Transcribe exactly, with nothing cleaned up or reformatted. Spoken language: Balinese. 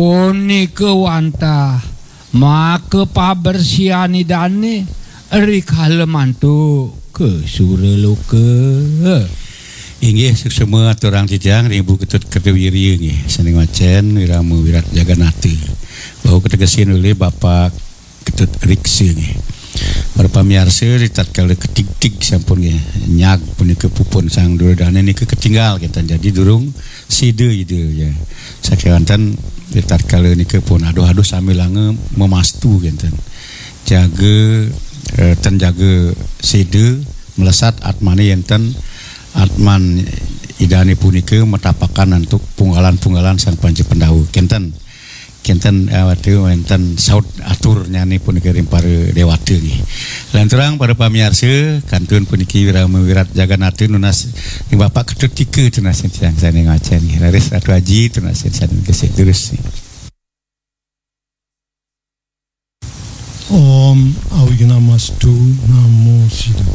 Punika wantah maka pabersihan Idane rikala mantuk ka suraloka. Inggih, suksma aturang titiang ring Ibu Ketut Kertawirya nggih, sane ngwacen Wirama Wirat Jagannatha. Wau kategesin olih Bapak Ketut Riksa nggih. Para pamiarsa, ritatkala katigtig sampun nggih, nyag punika pupun Sang Duryodana nika katinggal kenten. Jadi durung sida Ida ya. Sakewanten ritatkala nika pun aduh-aduh sambilanga memastu kenten. Jaga eh, ten jaga sida melesat atmane yenten atman Idane punika matapakan antuk punggalan-punggalan Sang Panca Pandawa. Kenten kenten eh, watu wenten saut aturnyane punika ring para dewata nggih. Lanturang para pamiarsa, kantun puniki Wirama Wirat Jagannatha nunas ring Bapak Ketut Tika tunasin tiang sane ngwacen nggih. Raris Ratu Aji tunasin sane gesik terus nggih. Om Awighnamastu Namo Siddham.